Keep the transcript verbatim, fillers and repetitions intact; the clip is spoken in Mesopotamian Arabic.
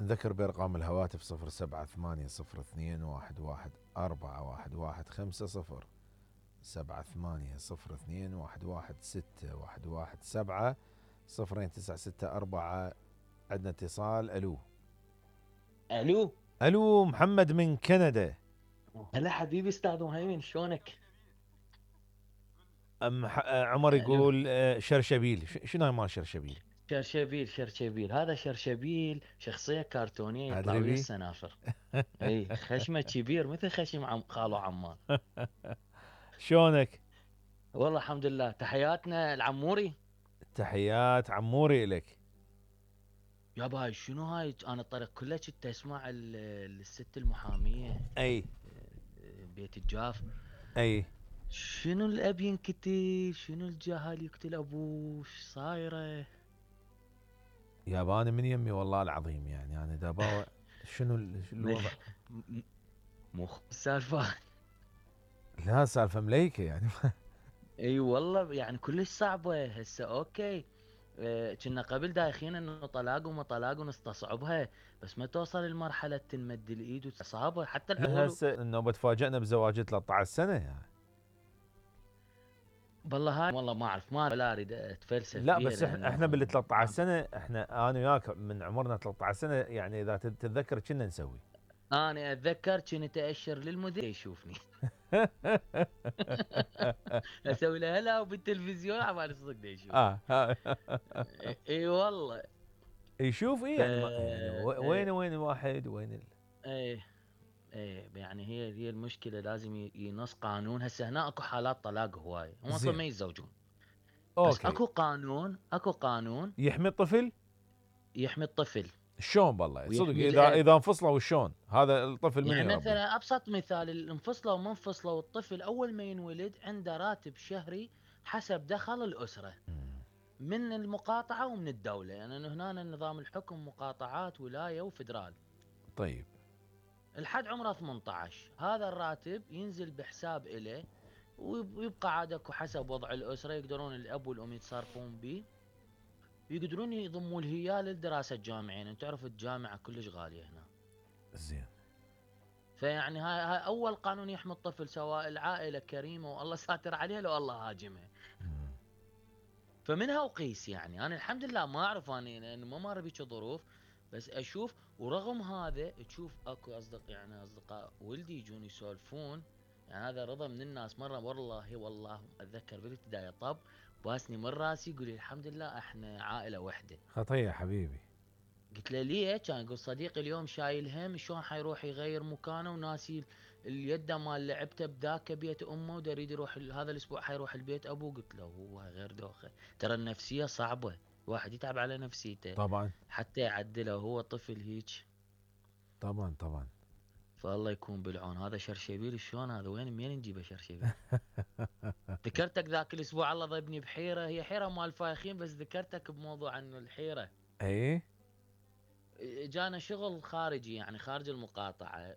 نذكر بأرقام الهواتف صفر سبعة ثمانية صفر اثنين واحد واحد أربعة واحد واحد خمسة صفر، سبعة ثمانية صفر اثنين واحد واحد ستة واحد واحد سبعة صفرين تسعة ستة أربعة. عندنا اتصال. ألو الو ألو محمد من كندا. هلا حبيبي استاذ مهيمن شلونك؟ أم ح- عمر الو يقول آه، شرشبيل. ش- شنو هاي مال شرشبيل؟ شرشبيل شرشبيل هذا شرشبيل شخصية كرتونية يطلع أدري ويا بي. السنافر. اي خشمه كبير مثل خشم عم خالو عمان. شلونك؟ والله الحمد لله تحياتنا العموري. تحيات عموري إلك. يابا هاي شنو هاي انا الطريق كله كنت اسمع ال- الست المحامية أي بيت الجاف. أي شنو الاب ينقتل شنو الجهل يقتل ابوه ايش صايره. ياباني من يمي والله العظيم، يعني أنا دابا شنو ال- شو الوضع؟ م- مو خ- السالفة. لا سالفة مليكة يعني. اي والله يعني كلش صعبة هسه اوكي. آه، كنا قبل دايخين انه طلاق وما طلاق ونستصعبها. بس ما توصل لمرحلة تنمد الايد وتصابه حتى لا العقول. هسه النوبة تفاجئنا بزواج ثلاثة عشر سنة يعني. والله هاي والله ما اعرف ما لا اريد اتفلسف لا بيها بس احنا احنا لانه بال ثلاثة عشر ما- سنة، احنا انا وياك من عمرنا ثلاثة عشر سنة، يعني اذا تت- تتذكر كنا نسوي. انا اتذكر كنت اشر للمدير يشوفني. اسوي له هلا وبالتلفزيون عمال صدق يشوفني. اه ها. اي إي والله. يشوف ايه ف يعني ما يعني و- وين إيه وين الواحد وين ال... إيه ايه يعني هي هي المشكله لازم ي- ينص قانون. هسه هنا اكو حالات طلاق هواي هم اصلا زين. ما يتزوجون. بس اوكي. اكو قانون اكو قانون يحمي الطفل. يحمي الطفل شلون بالله صدق، ويحمي اذا الاب. اذا انفصلوا شلون هذا الطفل من يعني يربيه؟ مثلا ابسط مثال الانفصلوا ومنفصلوا الطفل اول ما ينولد عنده راتب شهري حسب دخل الاسره مم. من المقاطعه ومن الدوله. يعني هنا نظام الحكم مقاطعات ولايه وفدرال. طيب. الحد عمره ثمانية عشر هذا الراتب ينزل بحساب إله. ويب- ويبقى عاد اكو حسب وضع الاسره يقدرون الاب والام يتصرفون به. يقدرون يضموا الهيال للدراسه الجامعيه لان تعرف الجامعه كلش غاليه هنا. زين. فيعني هاي, هاي اول قانون يحمي الطفل سواء العائله كريمه والله ساتر عليها لو الله هاجمها. مم. فمنها وقيس يعني انا الحمد لله ما اعرف اني لانه ما مر بيك ظروف. بس اشوف ورغم هذا تشوف اكو اصدق يعني اصدقاء ولدي يجون يسولفون. يعني هذا رضا من الناس مره والله والله اتذكر بالابتدائي طب باسني من راسي يقول لي الحمد لله احنا عائله وحده. خطية حبيبي. قلت له ليه؟ كان يقول صديقي اليوم شايل هم شلون حيروح يغير مكانه وناسي اليد مال لعبته بذاك بيت امه ودا يريد يروح ال- هذا الاسبوع حيروح البيت ابوه. قلت له هو غير دوخه. ترى النفسيه صعبه. الواحد يتعب على نفسيته طبعا حتى يعدله هو طفل هيك. طبعا طبعا. فالله يكون بالعون. هذا شرشبيل شلون هذا وين منين نجيبه شرشبيل؟ ذكرتك ذاك الاسبوع الله ضربني بحيره هي حيره مال فايخين بس ذكرتك بموضوع انه الحيره. ايه جانا شغل خارجي يعني خارج المقاطعة.